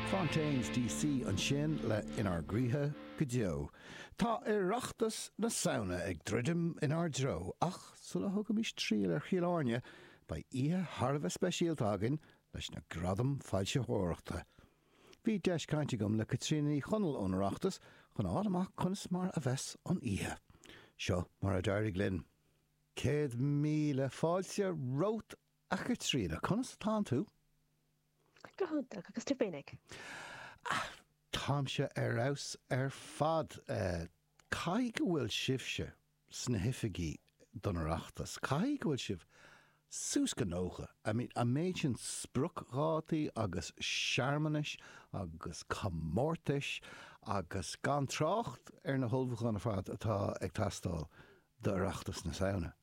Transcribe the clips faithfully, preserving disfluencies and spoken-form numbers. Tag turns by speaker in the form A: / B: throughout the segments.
A: Fontaines DC ansin le Inár gCroíthe go Deo. Tá Oireachtas na Samhna ag druidim inár dtreo ach sula dtugaimis triall ar Chill Airne beidh oíche thar a bheith speisialta againn leis na Gradaim Foilsitheoireachta. Bhí deis cainte agam le Caitríona Ní Chonaill ón Oireachtas chun a fháil amach conas mar a bheas an oíche. Seo mar a d'éirigh linn. Céad míle fáilte romhat a Chaitríona, conas atánn tú?
B: Go hiontach agus tú féinig.
A: Táimse ar fheabhas ar fad. Caithfidh go bhfuil sibhse sna hoifigí don Oireachtas, caithfidh go bhfuil sibh suas go nócha. I mean, an méid sin spriocdhátaí agus searmanais agus comórtais agus gan trácht ar na hullmhúcháin ar fad atá ag teastáil d'Oireachtas na Samhna.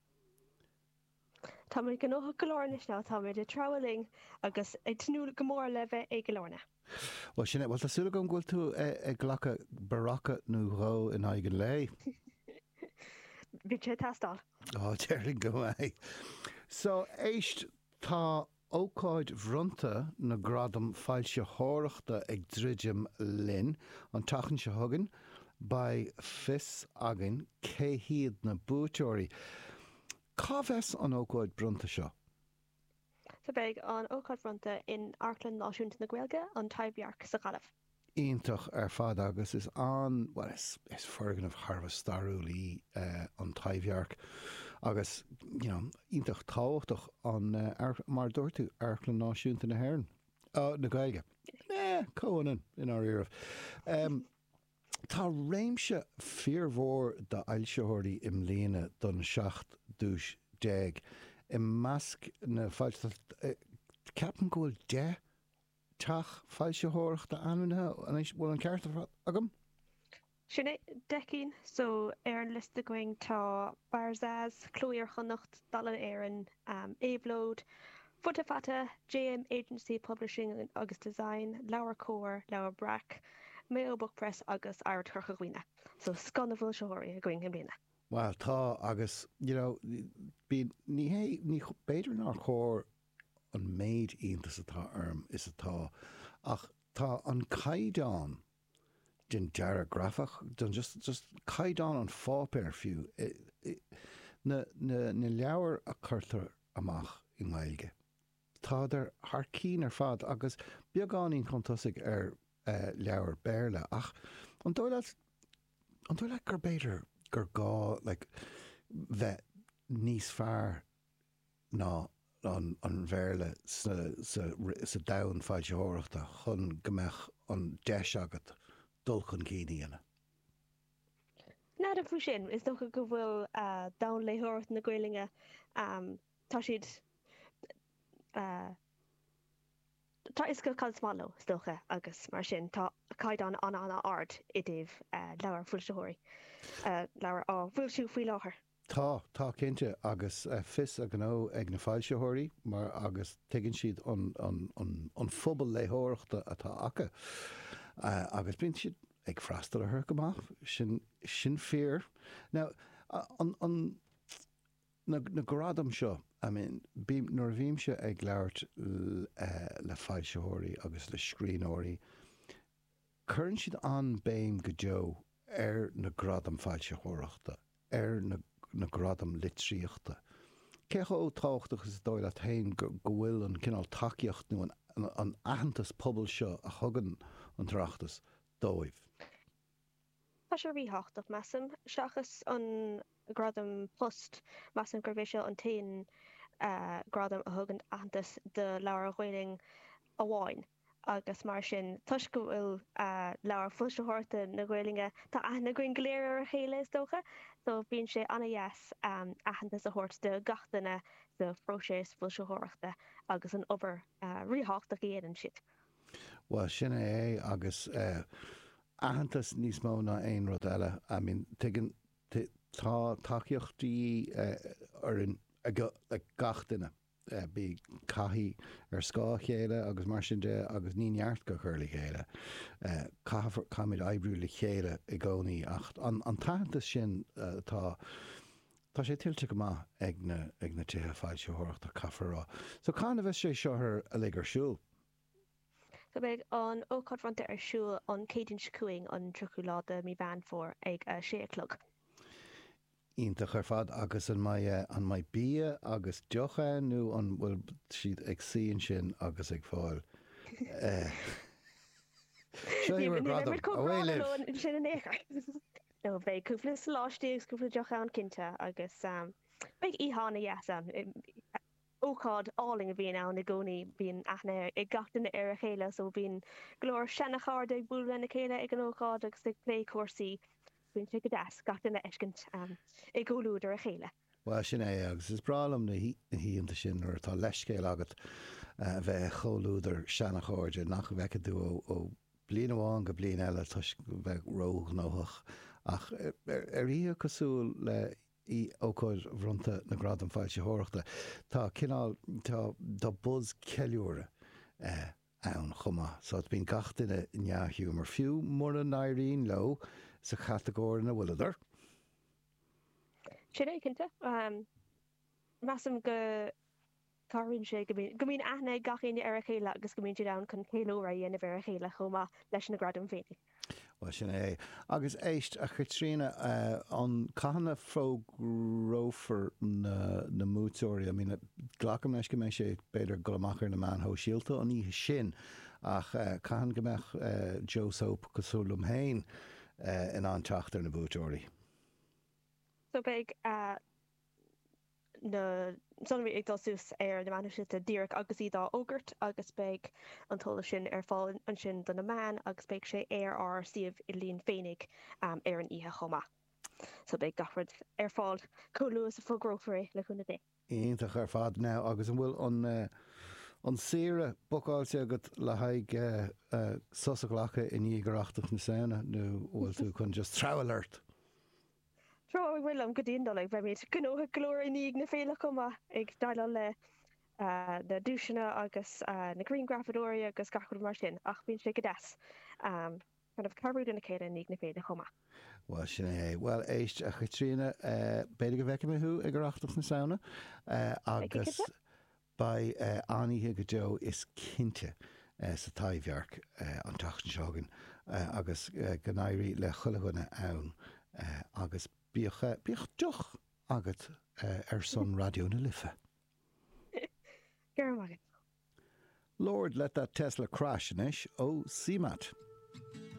B: Táimid gnóthach go leor anois ná táimid ag treabhadh linn agus ag tnúth go mór le bheith i gCill Airne.
A: Well sin é, well tá súil agam go bhfuil tú ag glacadh barracha nó dhó in aghaidh an lae.
B: Bhí sé ag teastáil.
A: Á déarfainn go mbeidh. So, éist, tá ócáid bhronnta na nGradam Foilsitheoireachta ag druidim linn. An tseachtain seo chugainn, beidh fios againn cé hiad na buaiteoirí. Cá bheas an ócáid bronnta seo?
B: So beidh an ócáid bhronnta in Amharclann Náisiúnta na Gaeilge, an Taibhdhearc sa Ghaillimh.
A: Iontach ar fad agus is an, bhuel is, is foirgneamh thar a bheith stairiúil í an Taibhdhearc agus you know iontach tábhachtach an, mar a dúirt tú, Amharclann Náisiúnta na hÉireann, na Gaeilge. Eh, comhionann i ndáiríribh. Tá réimse fíormhór d'fhoilsitheoirí i mbliana don seacht duais déag. I measc na foilsitheoirí, ceapaim go bhfuil deich teach foilsitheoireachta ainmnithe anois, bhfuil an ceart agam?
B: Sin é, deich gcinn. So, ar an liosta againn tá Barzaz, Cló Iar-Chonnacht, Dalen Éireann, Éabhlóid, Futa Fata, JM Agency Publishing agus Design, LeabhairCOMHAR, Leabhar Breac, Mayo Book Press agus Oidhreacht Chorca Dhuibhne. So, scoth na bhfoilsitheoirí againn i mbliana.
A: Bhuel, tá, agus, you know, bíonn, ní hé, ní, b'fhéidir nár chóir an méid iontais atá orm is atá, ach tá an caighdeán den dearadh grafach, den just, just caighdeán an pháipéir fiú, na, na, na leabhair a cuirtear amach i nGaeilge, tádar thar cinn ar fad agus beagáinín chun tosaigh ar leabhair Béarla ach an dóigh leat, an dóigh leat gur b'fhéidir gur gá like bheith níos fearr ná an an Bhéarla sa sa sa domhan foilsitheoireachta chun go mbeadh an deis agat dul chun cinn a dhéanamh?
B: N'fheadar faoi sin. Is dócha go bhfuil domhan léitheoireachta na Gaelainne, tá siad, tá a fhios acu cad is maith leo, is dócha, agus mar sin tá caighdeán an-an-ard i dtaobh leabhar foilsitheoirí, leabhar á bhfoilsiú faoi láthair.
A: Tá, tá cinnte, agus fios a ngnó ag na foilsitheoirí mar agus tuigeann siad an, an, an, an phobal léitheoireachta atá acu agus bíonn siad ag freastal orthu go maith, sin, sin fíor. Now, an, an, na, na gradaim seo, I mean, bím, nuair a bhímse ag labhairt le foilsitheoirí agus le scríbhneoirí, Cuireann siad an-béim go deo ar na gradaim foilsitheoireachta, ar na na gradaim litríochta. Cé chomh tábhachtach is dóigh leat féin go bhfuil an cineál tacaíocht nó an an aitheantas pobail seo a thugann an tOireachtas dóibh?
B: Tá sé ríthábhachtach, measaim. Seachas an gradam Post, measaim gurb é seo an t-aon ghradam a thugann aitheantas do leabhair Ghaelainn amháin agus mar sin, toisc go bhfuil leabhair foilsitheoireachta na Gaelainne, tá aithne againn go léir ar a chéile is dócha, so bíonn sé an-dheas aitheantas a thabhairt do gach duine sa phróiseas foilsitheoireachta agus an obair ríthábhachtach a dhéanann siad.
A: Bhuel, sin é é agus aitheantas níos mó ná aon rud eile. I mean, tuigeann, tá tacaíocht de dhíth orainn ag gach duine. Bíonn taithí ar scáth a chéile agus mar sin de agus ní neart go cur le chéile. Caithfear, caithfimid oibriú le chéile i gcónaí ach an t-aitheantas sin atá, tá sé tuillte go maith ag na, ag na tithe foilsitheoireachta, caithfear a rá. So cathain a bheas sé seo uilig ar siúl?
B: So beidh an ócáid bhronnta ar siúl an Céadaoin seo chugainn, an tríochú lá de mí Mheán Fómhair ag a sé a chlog.
A: Iontach ar fad agus an mbeidh an mbeidh bia agus deoch ann nó an bhfuil siad ag suí ansin agus ag fáil Seo í bhur gradam, away libh!
B: Sin in aon chor. No beidh cúpla soláistí agus cúpla deoch ann cinnte agus beidh oíche an-dheas ann. Ócáid álainn a bhíonn ann i gcónaí, bíonn aithne ag gach duine ar a chéile so bíonn go leor seana-chairde ag bualadh lena chéile ag an ócáid agus ag plé cúrsaí. Bíonn sé go deas gach duine a fheiscint i gcomhluadar a chéile.
A: Bhuel, sin é, agus is breá liom na hoícheanta sin nuair atá leithscéal agat a bheith i gcomhluadar seana-chairde nach bhfeiceann tú ó bliain amháin go bliain eile toisc bheith róghnóthach. Ach ar oíche cosúil le ócáid bhronnta na Gradam Foilsitheoireachta, tá cineál, tá, tá buzz ceiliúradh ann chomh maith. So bíonn gach duine i ndea-ghiúmar, fiú mura n-éiríonn leo sa chatagóir ina bhfuileadar.
B: Sin é, cinnte. Measaim go Cabhraíonn sé go mbíonn aithne ag gach éinne ar a chéile agus go mbíonn siad ann chun ceiliúradh a dhéanamh ar a chéile chomh maith leis na gradaim féinig.
A: Bhuel, sin é. Agus éist, a Chaitríona, an, cathain a fógrófar na na mbuaiteoirí? I mean, glacaim leis go mbeidh sé, b'fhéidir, dul amach ar na meáin shóisialta an oíche sin, ach cathain go mbeadh Joe Soap cosúil liom féin in ann teacht ar na buaiteoirí?
B: So beidh na sonraí ag dul suas ar na meáin shóisialta díreach agus iad á fhógairt agus beidh an t-eolas sin ar fáil ansin do na meáin agus beidh sé ar ár suíomh idirlín féinig ar an oíche chomh maith. So beidh gach rud ar fáil chomh luath is a fógrófar é, le cúnamh Dé.
A: Iontach ar fad. Now agus an bhfuil an an saoire bookáilte agat le haghaidh sos a ghlacadh i ndiaidh Oireachtas na Samhna nó an bhfuil tú chun just treabhadh ort?
B: Treabhadh liom go dtí an Nollaig. Beimid gnóthach go leor i ndiaidh na féile chomh maith, ag déileáil le na duaiseanna agus na grianghrafadóirí agus gach rud mar sin, ach bíonn sé go deas kind of cabhrú lena chéile i ndiaidh na féile chomh maith.
A: Bhuel, sin é. Bhuel, éist, a Chaitríona, b'fhéidir go bhfeicfidh mé thú ag Oireachtas na Samhna agus beidh an-oíche go deo is cinnte sa Taibhdhearc an tseachtain seo chugainn agus go n-éirí le chuile dhuine ann agus bíodh, bíodh deoch agat ar son Raidió na Life.
B: Go raibh maith agat.
A: Lord Let That Tesla Crash anois ó CMAT.